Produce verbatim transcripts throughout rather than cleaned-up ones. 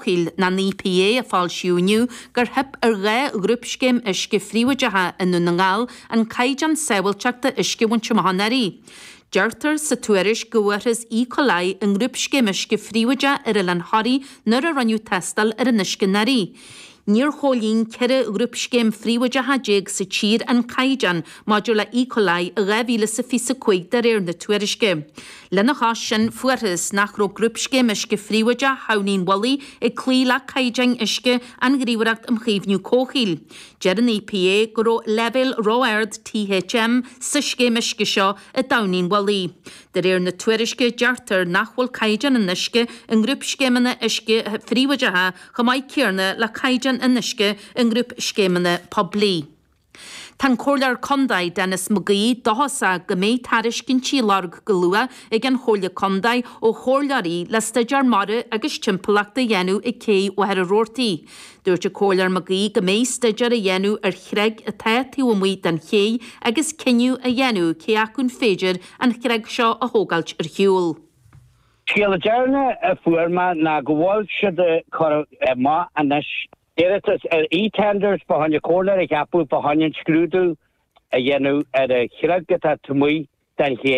Comhshaoil, nó an EPA, a foilsíodh inniu gur theip ar dhá ghrúpscéim uisce phríobháideacha i nDún na nGall an caighdeán sábháilteachta uisce a bhaint amach anuraidh. Deirtear sa tuairisc go bhfuarthas E. coli i ngrúpscéim uisce phríobháideach ar Oileán Thoraí nuair a rinneadh tástáil ar an uisce anuraidh. Níor chomhlíon ceithre ghrúpscéim phríobháideacha déag sa tír an caighdeán maidir le E. coli i dhá mhíle is a fiche a cúig de réir na tuairisce. Lena chois sin, fuarthas nach raibh grúpscéim uisce phríobháideach Thamhnaigh an Mhullaigh ag cloí le caighdeáin uisce an Ghníomhaireacht um Chaomhnú Comhshaoil. Deir an EPA go raibh leibhéal ró-ard THM sa scéim uisce seo i dTamhnaigh an Mhullaigh. De réir na tuairisce, deirtear nach bhfuil caighdeán an uisce i ngrúpscéimeanna uisce phríobháideacha chomh maith céanna le caighdeán an uisce i ngrúpscéimeanna poiblí. Tá an Comhairleoir Contae Denis McGee dóchasach go mbeidh tairiscintí á lorg go luath ag an Chomhairle Contae ó chomhairleoirí le staidéar mara agus timpeallachta a dhéanamh ag Cé Mhachaire Rabhartaigh. Dúirt an Comhairleoir McGee go mbeidh staidéar á dhéanamh ar chreig atá taobh amuigh den ché agus cinneadh a dhéanamh cé acu an féidir an chreig seo a thógáilt ar shiúl. Scéala deireanach a fuair mé ná go bhfuil siad ag cur amach anois iarratas ar e-tenders fá choinne comhairleoir a cheapadh fá choinne an scrúdú a dhéanamh ar an chreag atá taobh amuigh den ché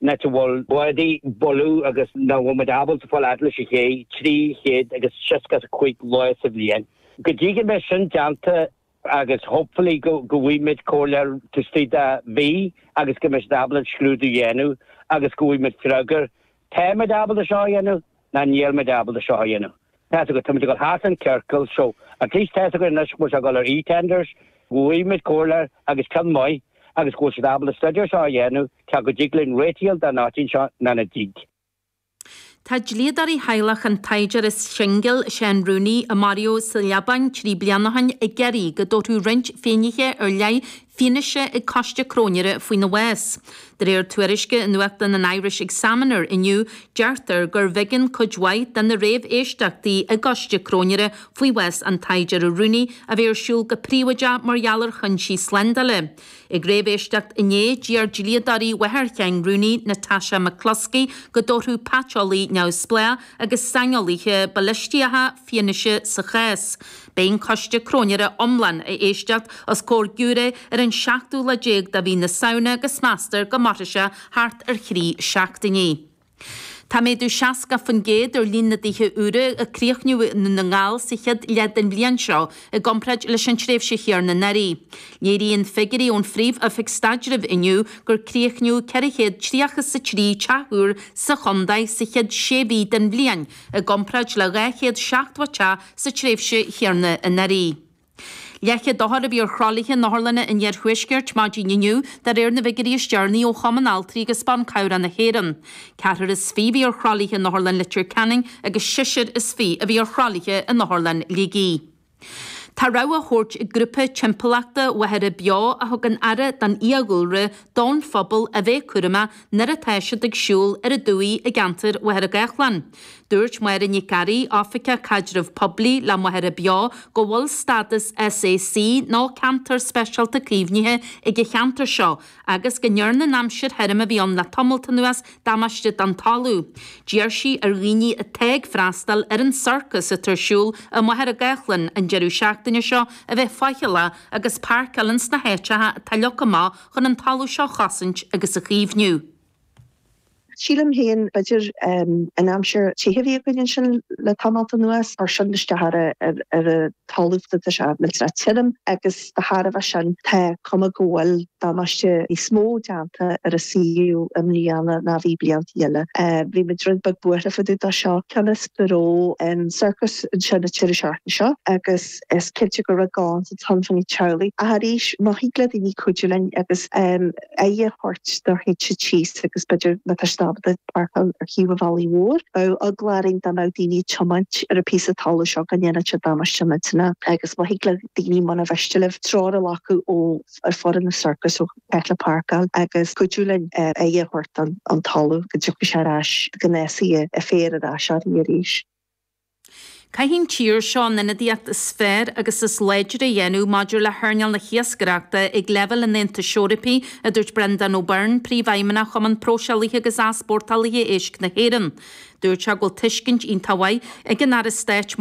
an áit a bhfuil bádaí ag bualadh agus nach bhfuil muid ábalta fáil fhad leis an ché trí chéad agus seasca a cúig lá sa bhliain. Go dtí go mbeidh sin déanta agus hopefully go go bhfaighidh muid comhairleoir taobh istigh de mhí agus go mbeidh siad ábalta an scrúdú a dhéanamh agus go bhfaighidh muid freagra tá muid ábalta seo a dhéanamh ná níl muid ábalta seo a dhéanamh. Tá go táimid ag dul thart an ciorcal so at least tá go anois go bhfuil sé ag dul ar e-tenders, go bhfaighidh muid comhairleoir agus ceann maith agus go bhfuil siad ábalta staidéar seo a dhéanamh cé go dtig linn réiteach den áitín seo ná nach dtig. Tá dlíodóirí theaghlach an tsaighdiúra singil Seán Rooney a maraíodh sa Liobáin trí bliana ó shin ag iarraidh go dtabharfadh roinnt finnéithe ar leith fianaise ag coiste cróinéara faoina bhás. De réir tuairisce i nuachtán an Irish Examiner inniu, deirtear gur bh'éigean cuid mhaith de na réamhéisteachtaí i gcoiste cróinéara faoi bhás an tsaighdiúra Rooney a bheith ar siúl go príobháideach mar gheall ar chúinsí slándála. Ag réamhéisteacht inné d'iarr dlíodóirí mháthair Sheáin Rooney, Natasha McCluskey, go dtabharfadh paiteolaí neamhspleách agus saineolaithe balaistacha fianaise sa chás. Beidh an coiste cróinéara iomlán á éisteacht os comhair giúiré ar an seachtú lá déag de mhí na Samhna agus meastar go mairfidh sé thart ar thrí seachtainí. Tá méadú seasca faoin gcéad ar líon na dtithe úra a críochnaíodh i nDún na nGall sa chéad leath den bhliain seo i gcomparáid leis an tréimhse chéanna anuraidh. Léiríonn figiúirí ón Phríomh-Oifig Staidrimh inniu gur críochnaíodh ceithre chéad tríocha is a trí teach úr sa chontae sa chéad sé mhí den bhliain i gcomparáid le dhá chéad seachtó teach sa tréimhse chéanna anuraidh. Leathchéad othar a bhí ar thralaithe in otharlanna an iarthuaiscirt maidin inniu de réir na bhfigiúirí is deireanaí ó Chumann Altraí agus Ban Cabhrach na hÉireann. Ceathrar is fiche a bhí ar thralaithe in Otharlann Leitir Ceanainn agus seisear is fiche a bhí ar thralaithe in Otharlann Shligigh. Tá rabhadh á thabhairt ag grúpa timpeallachta Mhachaire Beo a thugann aire don fhiadhúlra don phobal a bheith cúramach nuair atá siad ag siúl ar an dumhaigh i gceantar Mhachaire Gathlán. Dúirt Máire Nic Fhearraigh, Oifigeach Caidreamh Poiblí le Machaire Beo, go bhfuil stádas SAC nó Ceantar Speisialta Caomhnaithe ag an cheantar seo agus go ndearna an aimsir thirim a bhí ann le tamalt anuas damáiste don talamh. D'iarr sí ar dhaoine atá ag freastal ar an sorcas atá ar siúl i Machaire Gathlán an deireadh seachtaine seo a bheith faichilleach agus páirceáil ins na háiteacha atá leagtha amach chun an talamh seo a chosaint agus a chaomhnú. Sílim féin b'fhéidir an aimsir te a bhí againn ansin le tamalt anuas ar sin isteach ar ar a talamh tá sé millteanach tirim agus de thairbhe sin tá cuma go bhfuil damáiste níos mó déanta ar an suíomh i mbliana ná bhí blianta eile. Bhí muid rud beag buartha fá dtaobh de seo cionn is go raibh an sorcas ansin an deireadh seachtaine seo agus is cinnte go raibh gá sa ton fan teaghlaigh. Ach arís má thig le daoine cuidiú linn agus aghaidh a thabhairt do théid síos agus b'fhéidir má tá siad ábalta páirceáil ar thaobh an bhealaigh mhóir. Bheadh eagla orainn dá mbeadh daoine ag tiomáint ar an píosa talamh seo go ndéanfadh sé damáiste millteanach agus má thig le daoine muna mhiste libh treoir a ghlacadh ó ar foireann na sorcas ó cheart le páirceáil agus cuidiú linn aghaidh a thabhairt don an talamh go dtiocfaidh sé ar ais go n-fásfaidh an féar ar ais orainn arís. Caithfidh an tír seo an ionadaíocht is fearr agus is láidre a dhéanamh maidir le hearnáil na hiascaireachta ag leibhéal an Aontais Eorpaigh, a dúirt Brendan O'Byrne, príomhfheidhmeannach Chumann Próiseálaithe agus Easpórtálaithe Éisc na hÉireann. Dúirt sé go bhfuil tuiscint iontach mhaith ag an Aire Stáit